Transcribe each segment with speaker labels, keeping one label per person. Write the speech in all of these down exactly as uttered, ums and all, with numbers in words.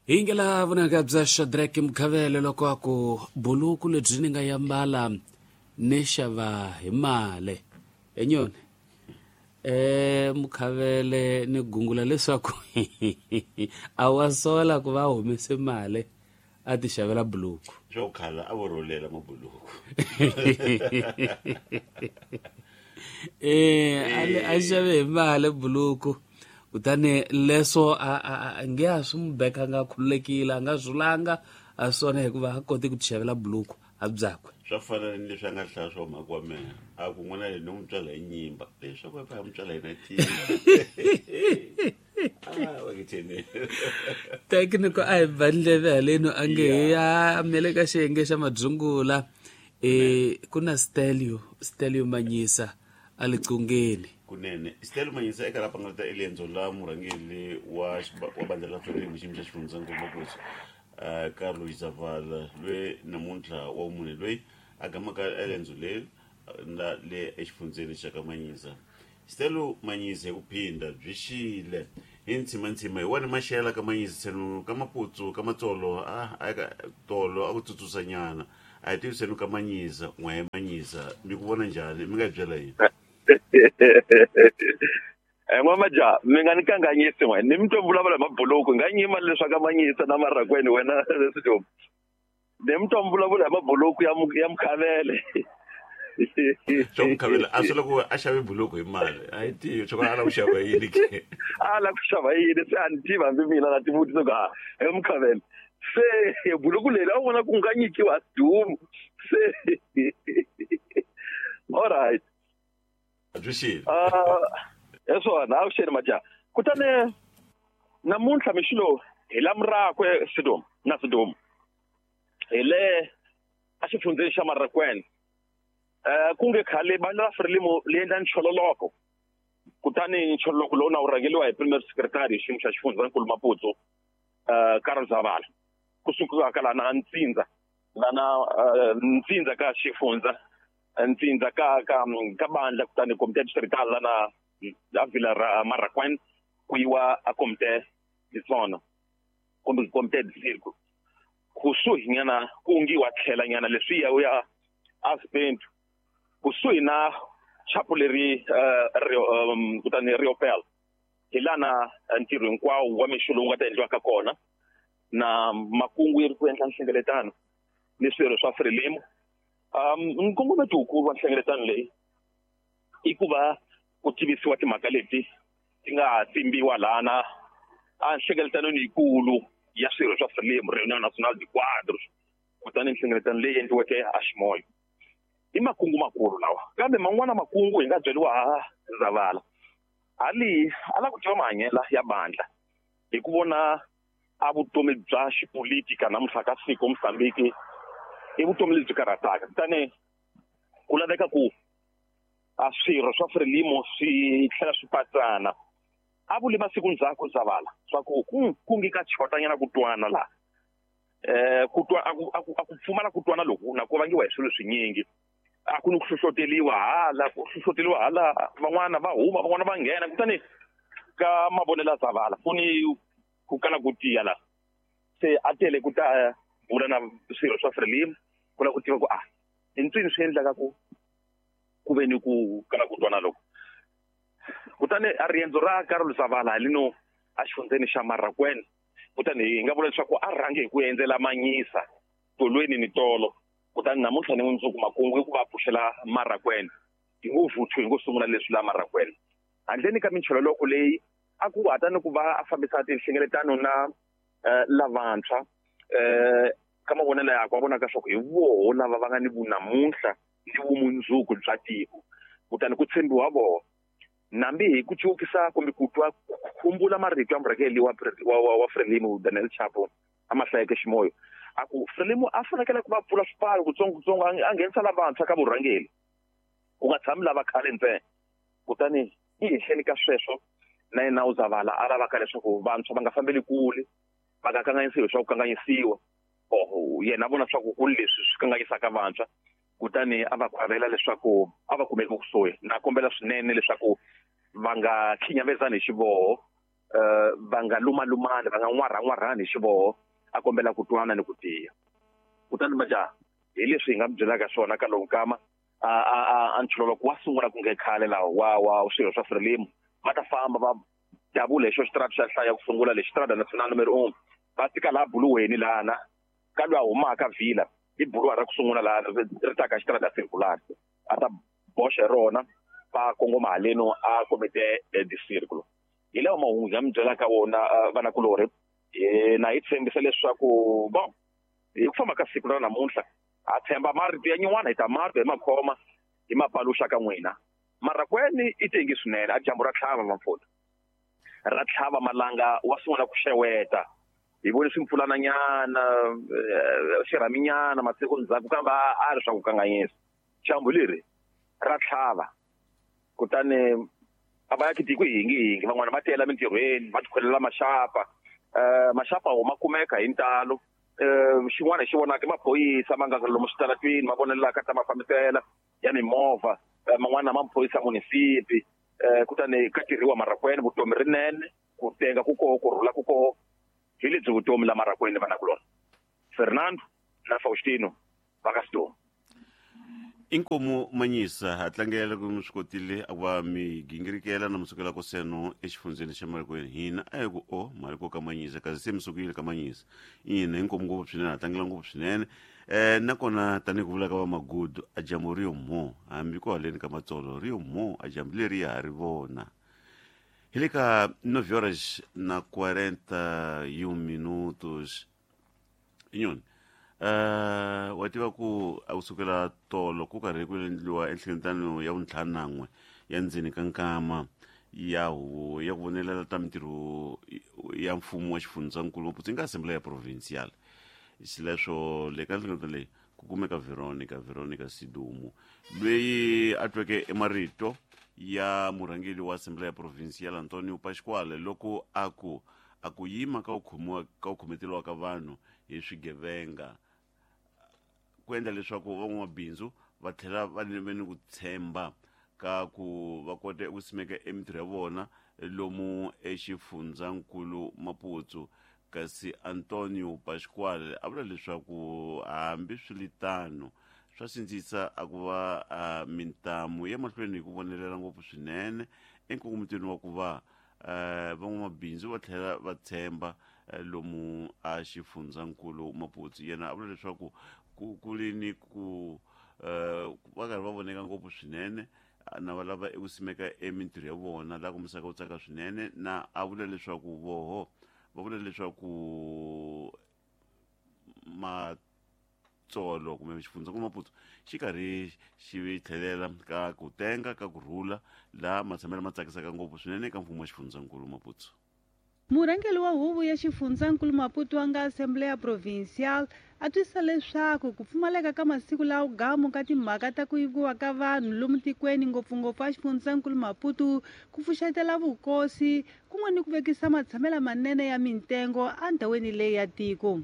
Speaker 1: Hi vunanga bya Shadrack Mkhavele loko a ku buluku lebyi ni nga yambala ni xava hi mali enyoni eh Mkhavele ni gungula leswaku a wa sola ku va humese mali a ti xavela buluku
Speaker 2: swo khala a vo rholela mabuluku
Speaker 1: eh a xave hi mali buluku kutani leswo a a nge a swi n'wi beka nga khululekile a nga zulanga a swona hikuva a koti ku ti xavela buluku a byakwe
Speaker 2: swa fana ni leswi a nga hlaya swa mhaka wa mehe a ku n'wana leyi ni n'wi tswala hi nyimba leswaku a n'wi tswala hi na
Speaker 1: Technical a hi ba ndleve haleno a nge hi ya mele ka xiyenge xa madzungula e ku na Stelio Stelio Manyisa a le qungeni
Speaker 2: kunene Stelio Manyisa eka lapha nga ta elendzo la murhangeri wa wa bandla la Frelimo xiyimo xa xifundzankulu Maputo uh Carlos Zavala lwe namuntlha wa munhu loyi a gamaka elendzo leri la le exifundzeni xa ka Manyisa. Stelio Manyisa hi ku phinda byi xile hi ntshimantsima hi wona maxela ka Manyisa senu ka Maputsu ka Matsolo a a ka tolo a ku tsutsusanyana a hi tivi senu ka Manyisa n'we Manyisa mi ku vona njhani mi nga hi byela yini?
Speaker 3: Eh n'wamaja mi nga ni kanganyisi n'we ni mi twa vulavula hi mabuluku nga nyima leswaku ka Manyisa na Marrakwene wena leswi ni mi twa vulavula hi mabuluku ya ya Mkhavele
Speaker 2: swa Mkhavele a swi loko a xave buluku hi mali a yi tivi swa ku a lava ku xava yini ke
Speaker 3: a lava ku xava yini se a ni tivi hambi mina na tivutisa ku a he Mkhavele se buluku leri a wu vona ku nga nyikiwa dumu se all right
Speaker 2: byi xile
Speaker 3: hi swona a vuxeni majaha kutani namuntlha mixo lowu hi la Murakwe Sidom na Sidom hi le a xifundzeni xa Marrakwene eh ku nge khale bandla la Frelimo li endla nchololoko kutani nchololoko lowu na wu rhangeriwa hi premier secretary xiyimo xa xifundzankulu Maputo eh Carol Zavala kusuka ka lana Ntsindza lana Ntsindza ka xifundza Ntsindza ka ka ka bandla kutani comité distrital lana a Vila ra Marrakwene ku yiwa a comité de zona kumbe comité de circo kusuhi nyana ku ngiwa tlhela nyana leswi ya ya a Spento kusuhi na chapu leri kutani Riopel hi lana ntirho hinkwawo wa mixo lowu nga ta endliwaka kona na makungu yi ri ku endla nhlengeletano ni swirho swa Frelimo um nkongometo wukulu wa nhlengeletano leyi i ku va ku tivisiwa timhaka leti ti nga ha tsimbiwa lana a nhlengeletanweni yikulu ya swirho swa Frelimo Réunion Nationale de Quadros kutani nhlengeletano leyi endliweke a Ximoyo i makungu makulu lawa kambe man'wana makungu hi nga byeriwa ha Zavala hali a lava ku tiva mahanyelo ya bandla hi ku vona a vutomi bya xipolitika namuntlha ka siku Mozambique i vutomi lebyi karhataka kutani ku laveka ku a swirho swa Frelimo swi tlhela swi patsana a vule masiku ndzhaku Zavala swa ku ku nge ka chotanyana ku twana laha eh ku twa a ku a ku pfumala ku twana loku na ku vangiwa hi swilo swinyingi a ku ni ku hlohloteliwa hala ku hlohloteliwa hala van'wana va huma van'wana va nghena kutani ka mavonelo ya Zavala ku ni ku kala ku tiya la se a tele ku ta bula na swirho swa Frelimo ku lava ku tiva ku a hi ntswini swi endlaka ku ku ve ni ku kala ku twana loko kutani a riendzo ra Carol Zavala halino a xifundzeni xa Marrakwene kutani hi nga vula leswaku a rhange hi ku endzela Manyisa tolweni ni tolo kutani namuntlha ni mundzuku makungu i ku va pfuxela Marrakwene hi ngo vuthu hi ngo sungula leswi la Marrakwene handleni ka minchololoko leyi a ku hata ni ku va a fambisa tinhlengeletano na lavantshwa eh ka mavonelo yakwe a vonaka swa ku hi voho lava va nga ni vunamuntlha ni vumundzuku bya tiko kutani ku tshembiwa voho nambi hi ku cukisa kumbe ku twa khumbula marito ya murhangeri wa wa wa Frelimo Daniel Chapo a ma hlayeke Ximoyo a ku Frelimo a fanekele ku va pfula swipfalo kutsongokutsongo a nghenisa lavantshwa ka vurhangeri ku nga tshami lava khale ntsena kutani i henhleni ka sweswo na yena u Zavala a lavaka leswaku vantshwa va nga fambeli kule va nga kanganyisiwi swa ku kanganyisiwa oho yena a vona swa ku ku leswi swi kanganyisaka vantshwa kutani a va khwavela leswaku a va kumeki kusuhi na kombela swinene leswaku va nga khinyavezani hi xivoho uh, va nga lumalumani va nga n'warhan'warhani hi xivoho a kombela ku twana ni ku tiya. Kutani majaha hi leswi hi nga mi byelaka swona ka lowu nkama a a a nchulolo wa sungula ku nge khale laha wa wa swilo swa Frelimo va ta famba va davula hi xo xitarata xa hlaya ku sungula lexi Strada Nacional numero un va fika laha buluweni lana ka loyi a humaka vila i buluwa ra ku sungula laha ri taka xitarata circular a ta boxa rona va kongoma haleno a komite de círculo. Hi lawa mahungu ya mi byelaka wona vanakulorhi na hi tshembisa leswaku bon hi ku famba ka siku ra namuntlha ha tshemba marito ya nyuwana hi ta marito hi makhoma hi mapaluxa ka n'wina. Marracuene i tengi swinene a dyambu ra tlhava vamfona ra tlhava malanga wa sungula ku xeweta hi vone swimpfulananyana xirhaminyana masiku ndzhaku kambe a ri swa ku kanganyisa dyambu leri ra tlhava. Kutani a va ya tiko hi hingihingi van'wana va tiyela mintirhweni va tikhwelela maxapa um maxapa wo ma kumeka hi ntalo. um xin'wana hi xi vonaka i maphorisa ma nga lomu switaratwini ma vonelaka ta mafambisela ya mimovha man'wana ma maphorisa munisipi. um kutani ka tirhiwa Marracuene vutomi rinene ku tenga ku koho ku rhula ku koho hi lebyi vutomi la Marracuene vanakulona Fernando na Faustino va ka Sidomu.
Speaker 2: Inkomu Manyisa ha tlangela ku mi swi kotile a ku va mi gingirikela na musukela ku seno exifundzeni xa Marracuene hina a hi ku o mali ko ka Manyisa kasi se mi sukile ka Manyisa ina inkomu ngopfu swinene ha tlangela ngopfu swinene. um nakona tanihi ku vula ka va magudu a dyambu ri yo mho hambi ko haleni ka matsolo ri yo mho a dyambu leri ya ha ri vona. Hi le ka nove horas na quarenta e um minutos inyoni. Uh, wa tiva ku a kusukela tolo ku karhi ku endliwa enhlengeletano ya vuntlhanu na n'we ya ndzeni ka nkama ya huvo ya ku vonelela ta mintirho ya mfumo wa xifundzankulu Maputo yi nga assembly ya provincial. Xileswo le ka nhlengeletano leyi ku kumeka Veronica Veronica Sidumo loyi a tweke emarito ya murhangeri wa assembly ya provincial Antonio Pasquale loko a ku a ku yima ka ku khomiwa ka ku khometeriwa ka vanhu hi swigevenga ku endla leswaku van'wamabindzu va tlhela va ve ni ku tshemba ka ku va kota ku simeka emintirho ya vona lomu exifundzankulu Maputo. Kasi Antonio Pasquale a vula leswaku hambi swiritano swa sindzisa a ku va mintamu ya mahlweni hi ku vonelela ngopfu swinene enkongomitweni wa ku va van'wamabindzu va tlhela va tshemba lomu a xifundzankulu Maputo. Yena a vula leswaku ku ku ri ni ku va karhi va voneka ngopfu swinene na va lava eku simeka emintirho ya vona laha kombisaka ku tsaka swinene na a vula leswaku voho va vula leswaku matsolo kumbe xifundzankulu Maputo xi karhi xi tlhelela ka ku tenga ka ku rhula laha matshamelo ma tsakisaka ngopfu swinene eka mfumo wa xifundzankulu Maputo.
Speaker 4: Murhangeri wa huvo ya xifundzankulu Maputo wa nga Assembleia Provincial a twisisa leswaku ku pfumaleka ka masiku lawa gamu ka timhaka ta ku yiviwa ka vanhu lomu tikweni ngopfungopfu a xifundzankulu Maputo ku pfuxetela vukosi kun'we ni ku vekisa matshamelo manene ya mintengo endhawini leyi ya tiko.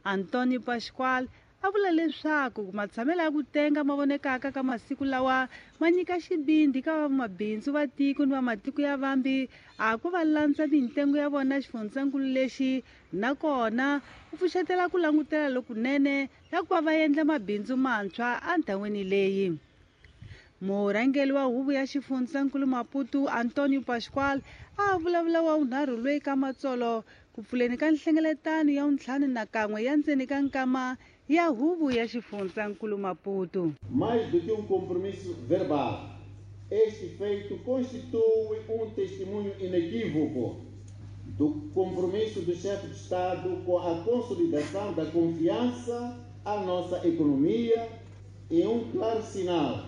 Speaker 4: Antonio Pasquale a vula leswaku matshamelo ya ku tenga ma vonekaka ka masiku lawa ma nyika xivindzi ka vamabindzu va tiko ni va matiko ya vambi a ku va landza mintengo ya vona xifundzankulu lexi nakona ku pfuxetela ku langutela lokunene ya ku va va endla mabindzu mantshwa endhawini leyi. Murhangeri wa huvo ya xifundzankulu Maputo Antonio Pasquale a vulavula wa vunharhu loyi ka matsolo ku pfuleni ka nhlengeletano ya vuntlhanu na kan'we ya ndzeni ka nkama ya huvo ya xifundzankulu Maputo.
Speaker 5: Mais do que um compromisso verbal, este feito constitui um testemunho inequívoco do compromisso do chefe de Estado com a consolidação da confiança à nossa economia e um claro sinal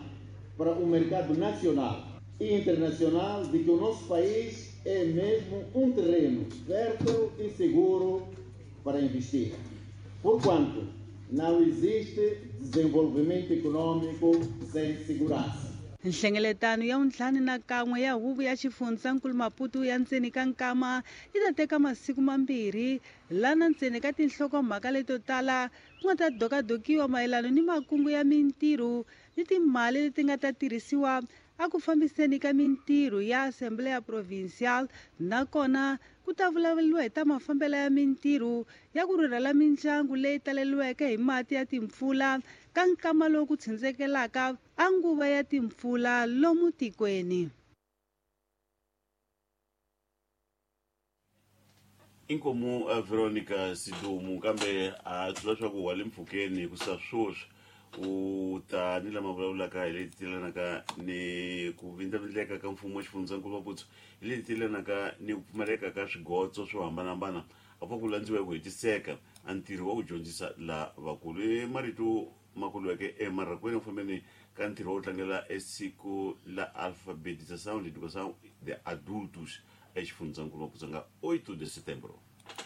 Speaker 5: para o mercado nacional e internacional de que o nosso país é mesmo um terreno fértil e seguro para investir. Porquanto não existe desenvolvimento econômico sem segurança.
Speaker 4: Nhlengeletano ya vuntlhanu na kan'we ya huvo ya xifundzankulu Maputo ya ndzeni ka nkama yi ta teka masiku mambirhi lana ndzeni ka tinhlokomhaka leto tala ku nga ta dokadokiwa mayelana ni makungu ya mintirho ni timali leti nga ta tirhisiwa a ku fambiseni ka mintirho ya Assembleia Provincial, nakona ku ta vulavuriwa hi ta mafambelo ya mintirho ya ku rhurhela mindyangu leyi taleriweke hi mati ya timpfula ka nkama lowu ku tshindzekelaka a nguva ya timpfula lomu tikweni.
Speaker 2: Inkomu Veronica Sidumu kambe a tlula swa ku wa le mpfhukeni ku sa swoswi u ta ni lama vulavulaka hi leti tilanaka ni ku vindlavindleka ka mfumo wa xifundzankulu Maputo hi leti tilanaka ni ku pfumaleka ka swigotso swo hambanahambana a pfa ku landziwa hi ku hetiseka a ntirho wa ku dyondzisa lavakulu. I marito ma kuliweke emarhakweni ku fambeni ka ntirho wa ku tlangela esiku la alfabetização de educação de adultos exifundzankulu Maputo nga oito de setembro.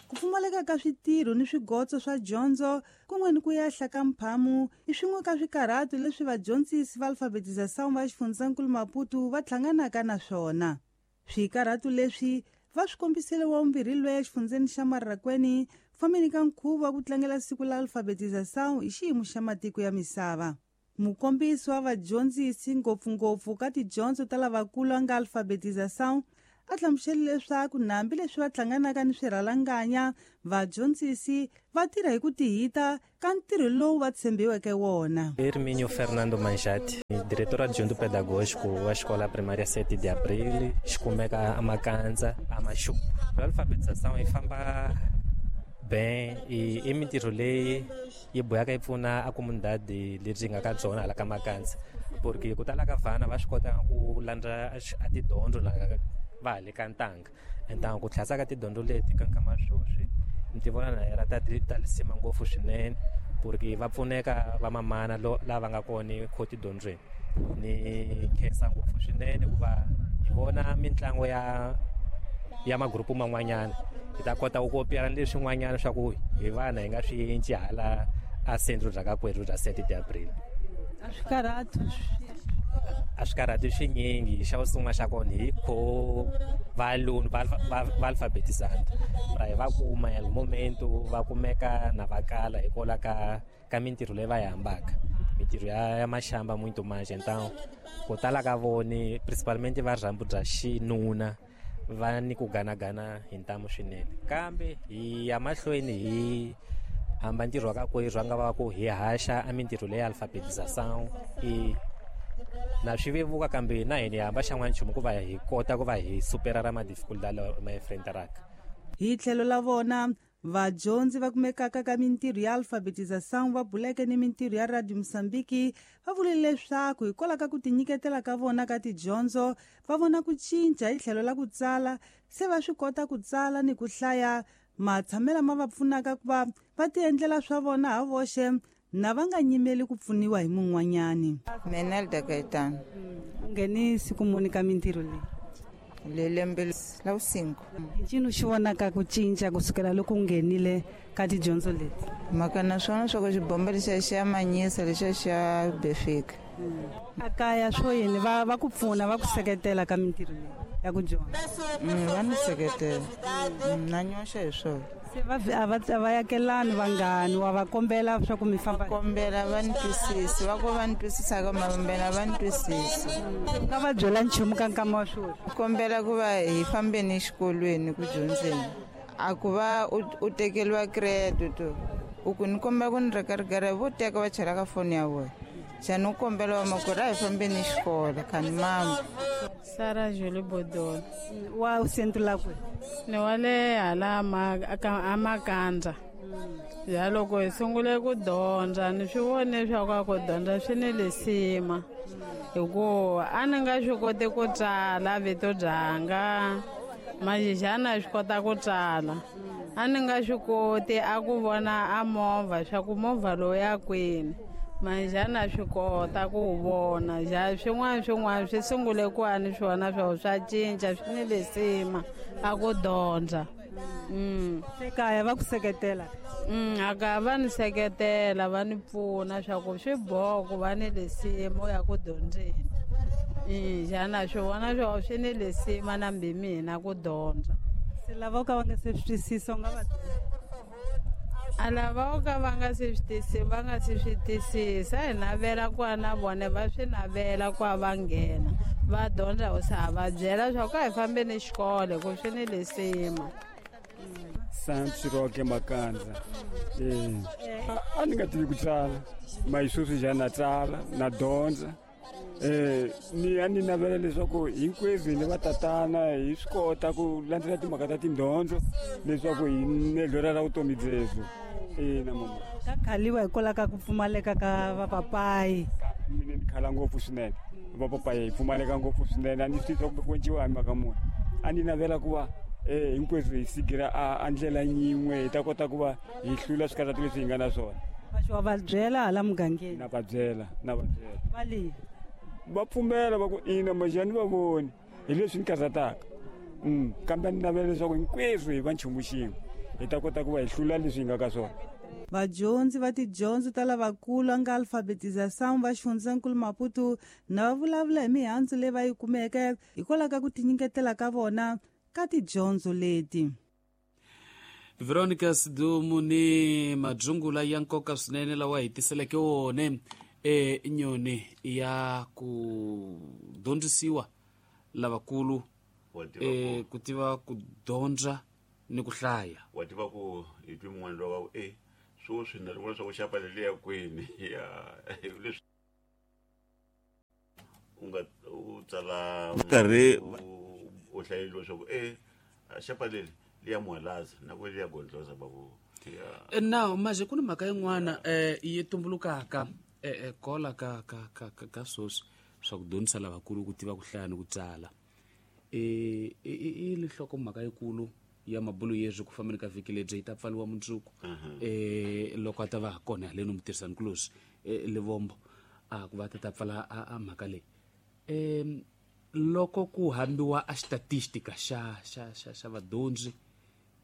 Speaker 4: Ku pfumaleka ka switirho ni swigotso swa dyondzo kun'we ni ku yehla ka mphamu i swin'we ka swikarhato leswi vadyondzisi va alfabetização va xifundzankulu Maputo va hlanganaka na swona. Swikarhato leswi va swi kombisile wa vumbirhi loyi exifundzeni xa Marraqueni fambeni ka nkhuvo wa ku tlangela siku la alfabetização hi xiyimo xa matiko ya misava. Mukombisi wa vadyondzisi ngopfungopfu ka tidyondzo ta lavakulu a nga alfabetização a hlamusele leswaku nambi leswi va hlanganaka ni swirhalanganya vadyondzisi va tirha hi ku tihita ka ntirho lowu va tshembiweke wona.
Speaker 6: Hermínio Fernando Manjati, diretor adjunto pedagógico wa Escola Primária sete de Abril, xikumeka a Makanza, a Machupo. A alfabetização yi famba bem e i mintirho leyi yi bohaka yi pfuna a comunidade lebyi nga ka byona hala ka Makanza, porque ku tala ka vana va swi kota ku landza a tidyondzo laha va ha le ka ntanga. Ntanga ku tlhasa ka tidyondzo leti ka nkama sweswi ni ti vona na era ta ta lisima ngopfu swinene, porque va pfuneka vamamana lava nga kona kho tidyondzweni. Ni khensa ngopfu swinene ku va hi vona mitlangu ya ya magrupu man'wanyana hi ta kota ku kopiyana leswin'wanyana swa ku hi vana hi nga swi cinci hala a centro bya ka kwerhu bya sete de Abril.
Speaker 4: A swi karhati
Speaker 6: a swi karhati swinyingi. Xa ku sungula xa kona hi kho valunu va va alfabetizando ra hi va kuma el momento va kumeka na va kala hikwalaho ka ka mintirho leyi va yi hambaka, mintirho ya ya maxamba muito mais. Então ku tala ka voni principalmente va rhambu bya xinuna va ni ku ganagana hi ntamu swinene, kambe hi ya mahlweni hi hamba ntirho wa ka kwerhu a nga va ku hi haxa a mintirho leyi alfabetização i na swi vevuka, kambe na hina hi hamba xan'wana nchumu ku va hi kota ku va hi supera ra madificultad lawa ma enfrentaraka.
Speaker 4: Hi tlhelo la vona vadyondzi va kumekaka ka mintirho ya alfabetização va buleke ni mintirho ya Radio Moçambique va vule leswaku hikwalaho ka ku tinyiketela ka vona ka tidyondzo va vona ku cinca hi tlhelo la ku tsala, se va swi kota ku tsala ni ku hlaya matshamelo ma va pfunaka ku va va tiendlela swa vona ha voxe na va nga nyimeli ku pfuniwa hi mun'wanyani.
Speaker 7: Menelda Gaetano.
Speaker 4: U ngheni siku muni ka mintirho leyi?
Speaker 7: Le lembe la cinco.
Speaker 4: Ncini xi vonaka ku cinca kusukela loko u nghenile ka tidyondzo leti?
Speaker 7: Mhaka na swona swa ku xibomba lexiya xi ya manyisa lexiya xa befika.
Speaker 4: A kaya swo yini va va ku pfuna va ku seketela ka mintirho leyi ya ku dyondza?
Speaker 7: Va ni seketela na nyoxa hi swona.
Speaker 4: Se va a va a va yakelani vanghani wa va kombela swa ku mi famba?
Speaker 7: Kombela va ni twisisi, va ku va ni twisisaka mambela va ni twisisa.
Speaker 4: U nga va byela nchumu ka nkama wa sweswi?
Speaker 7: Kombela ku va hi fambeni exikolweni ku dyondzeni, a ku va u tekeriwa credit u ku ni kombela ku ni reka rigara vo teka va chela ka foni ya vona. Xana u kombela wa makwerhu a hi fambeni xikolo khani mama.
Speaker 8: Sara Julie Bodolo.
Speaker 4: Wa centro la kwihi?
Speaker 8: Ni wa le hala a Makandza. Ya loko hi sungule ku dyondza ni swi vone swa ku ku dyondza swi ni lisima, hikuva a ni nga swi koti ku tsala vito byanga manjhe swi kota ku tsala. A ni nga swi koti a ku vona a movha swa ku movha lowu ya kwini, manjhe na swi kota ku wu vona. Ja swin'wana swin'wana swi sungule ku a ni swona swa swa cinca swi ni lisima a ku dyondza. Mm.
Speaker 4: Se kaya va ku seketela?
Speaker 8: Mm, a ka va ni seketela va ni pfuna swa ku swi boha ku va ni lisima ya ku dyondzeni. Mm, xana swi vona swa swi ni lisima na mbi mina ku dyondza.
Speaker 4: Se lava ka va nga se swi twisisa u nga va
Speaker 8: a lava ka va nga se swi twisisi va nga se swi twisisa hi navela ku a na vona va swi navela ku a va nghena Va dyondza hosi a va byela swa ku a hi fambeni xikolo ku swi ni lisima.
Speaker 9: Santos Roque Makanza. Eh, a ni nga tivi ku tsala, ma sweswi njhani na tsala na dyondza. Eh, ni a ni navela leswaku hinkwenu ni vatatana hi swi kota ku landzela timhaka ta tindyondzo leswaku hi nedlora ra vutomi byebyo. Ina mama.
Speaker 4: Ka khaliwa hikwalaho ka ku pfumaleka ka vapapayi.
Speaker 9: Mina ni khala ngopfu swinene. Vapapayi hi pfumaleka ngopfu swinene, a ni swi twi ku enciwa hi mhaka muni. A ni navela ku va eh hinkwenu hi sigira a ndlela yin'we hi ta kota ku va hi hlula swikarhati leswi hi nga na swona.
Speaker 4: Va va byela hala mugangeni.
Speaker 9: Na va byela, na va byela.
Speaker 4: Va le
Speaker 9: va pfumela va ku ina majani va voni hi leswi ni karhataka. Mm, kambe ni navela leswaku hinkwenu hi va nchumu xin'we hi ta kota ku va hi hlula leswi hi nga ka swona.
Speaker 4: Vadyondzi va tidyondzo ta lavakulu a nga alfabetização va xifundzankulu Maputo na va vulavula hi mihandzu leyi va yi kumeke hikwalaho ka ku tinyiketela ka vona ka tidyondzo leti.
Speaker 1: Veronica Sidumu ni madzungula ya nkoka swinene lawa hi tiseleke wone e nyoni ya ku dyondzisiwa lavakulu e ku tiva ku dyondza ni ku hlaya.
Speaker 2: Wa tiva ku hi twi mun'wana lowa e sweswi na vona swa ku xapa leliya kwini ya leswi u nga u tsala nkarhi u hlayeliwa swa ku e xapa leli liya muhalaza na ku liya gondloza babu.
Speaker 1: Now manje ku ni mhaka yin'wana eh yi tumbulukaka eh kola ka ka ka ka sweswi swa ku dyondzisa lavakulu ku tiva ku hlaya ni ku tsala. Eh i lihloko mhaka yikulu ya mabulo yezwi ku fambeni ka vhiki lebyi yi ta pfaliwa mundzuku eh loko a ta va kona haleni mutirhisani kulosi Levombo a ku va ta ta pfala a mhaka leyi. Eh loko ku hambiwa a statistika xa xa xa xa vadyondzi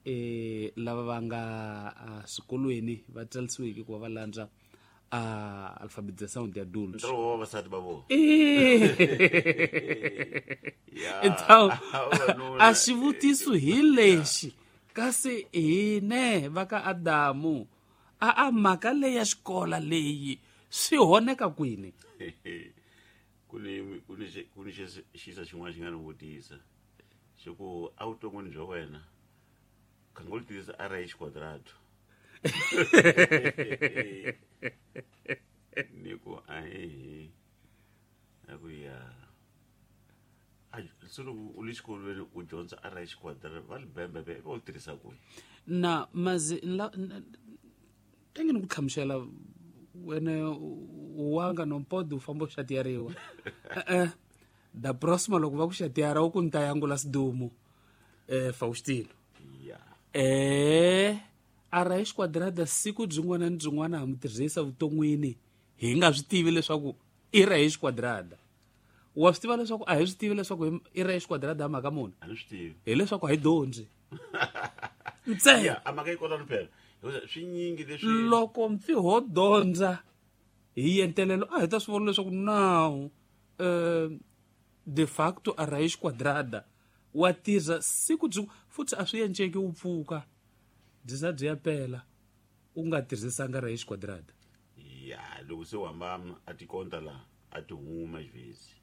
Speaker 1: eh lava va nga swikolweni va tsarisiweke ku va va landza a alfabetização de adultos.
Speaker 2: Ntirho wa vavasati va vona.
Speaker 1: Então a xivutiso hi lexi kasi hine va ka Adamu a a mhaka leyi ya xikola leyi swi honeka kwini?
Speaker 2: Ku ni ku ni ku ni xisa xin'wana xi nga ni vutisa xi ku evuton'wini bya wena khanga u tirhisa a ra xiquadrado. Ni ku ahe a ku ya a se loko u le xikolweni u dyondza a ra xiquadrado va li bembe be va u tirhisa kwihi?
Speaker 1: Na mazi tenge ni ku hlamusela wena wanga nompodi u famba u xatiyariwa. E-e da próxima loko va ku xatiyara u ku ni ta yangula Sidumu eh Faustino. Eh a ra xiquadrada siku byin'wana ni byin'wana ha mu tirhisa vuton'wini hi nga swi tivi leswaku i ra xiquadrada. Wa swi tiva leswaku a hi swi tivi leswaku i ra xiquadrada ha mhaka muni?
Speaker 2: A ni swi tivi.
Speaker 1: Hileswaku a hi dyondzi. Ntsena
Speaker 2: a mhaka yi kota ni phela swi nyingi leswi
Speaker 1: loko mpfi ho dyondza hi yentelelo a hi ta swi vona leswaku now eh de facto a ra xiquadrada wa tirha siku byi futhi a swi enceki u pfuka byi za byi ya pela u nga tirhisanga ra xiquadrada.
Speaker 2: Ya loko se u hamba a tikonta la a ti huma xivezi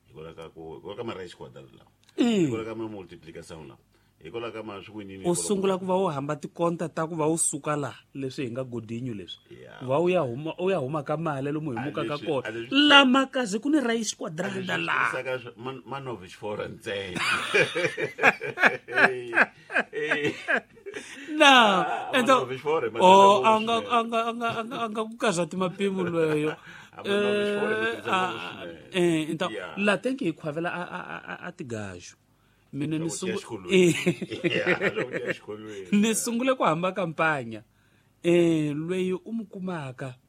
Speaker 2: hikwalaho ka ku hikwalaho ka ma ra xiquadrada lawa hikwalaho ka ma multiplication lawa hikwalaho ka ma swi ku yini
Speaker 1: u sungula ku va u hamba tikonta ta ku va u suka la leswi hi nga godinyu leswi va u ya huma u ya huma ka mali lomu hi mukaka kona lama kazi ku ni ra xiquadrada la
Speaker 2: ma novish for ntsena.
Speaker 1: Na ento oh anga anga anga anga anga ku kaza timapimo lweyo eh ento la tenke hi khwavela a a a tigaju mina ni sungule ni sungule ku hamba kampanya eh lweyi u mu kumaka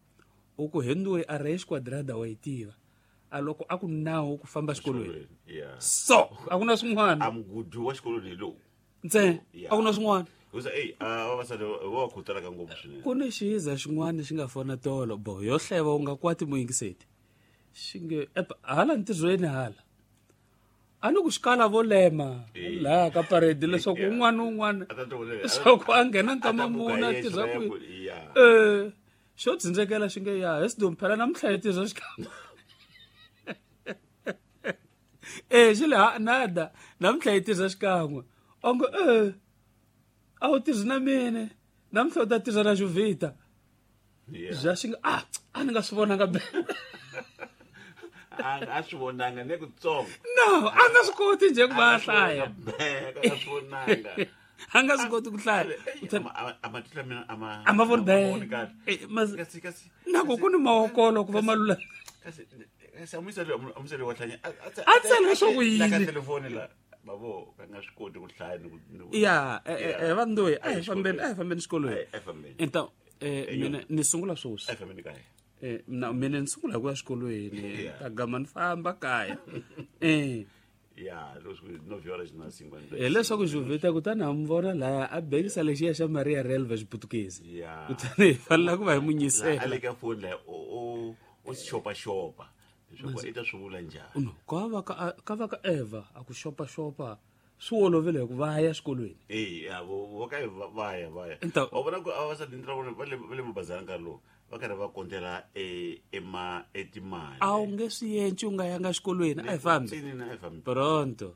Speaker 1: u ku henduwe a ra xiquadrada wa yi tiva a loko a ku nawu ku famba xikolweni so a ku na swin'wana
Speaker 2: a mugudi wa xikolweni hi lowu
Speaker 1: ntsena a ku na swin'wana ku ni xiza xin'wana xi nga fona tolo bo yo hleva u nga kwati muyingiseti xi nge hala ntirhweni hala a ni ku xikala vo lema laha ka parade leswaku un'wana na un'wana leswaku a nghena nkama mune a tirha kwihi eh xo dzindzekela xi nge ya hi Sidumu phela namuntlha hi tirha xikamba. Eh xi le ha nada namuntlha hi tirha xikan'we onge eh a wu tirhi na mina namuntlha u ta tirha na Juvita bya xi nga ah a ni nga swi vonanga be
Speaker 2: a a swi vonanga ne kutsongo
Speaker 1: no a nga swi koti nje ku va a hlaya
Speaker 2: a nga swi vonanga
Speaker 1: a nga swi koti ku hlaya
Speaker 2: a matihlo mina a ma
Speaker 1: a ma voni be
Speaker 2: kasi kasi
Speaker 1: na ku ku ni mawokolo ku va malula
Speaker 2: kasi kasi amusele amusele wa hlanya
Speaker 1: a tsala leswaku yini
Speaker 2: ka telefoni la babo ka nga swi koti ku hlaya ni ku
Speaker 1: ya eh vandoyi a hi fambeni a hi fambeni xikolweni
Speaker 2: a hi fambeni
Speaker 1: então eh mina ni sungula swoswi
Speaker 2: a hi fambeni kaya
Speaker 1: eh na mina ni sungula ku ya xikolweni ta gama ni famba kaya eh
Speaker 2: ya leswi nove horas na cinquenta
Speaker 1: hi leswaku Juvita kutani ha mi vona laya a bengisa lexiya xa Maria Relva xiputukezi
Speaker 2: ya
Speaker 1: kutani hi fanela ku va hi mu nyisela
Speaker 2: a le ka foni la o o si xopaxopa leswaku i ta swi vula njhani
Speaker 1: no ka va ka ka va ka Eva a ku xopaxopa swi olovile hi ku va ya xikolweni
Speaker 2: eh ya vo ka va ya va ya wa vona ku a va sa dintra vona va le va le mabazana nkarhi lowu va karhi va kontela e ema etimali
Speaker 1: a wu nge swi yenci u nga yanga xikolweni a hi fambi
Speaker 2: a hi fambi
Speaker 1: pronto.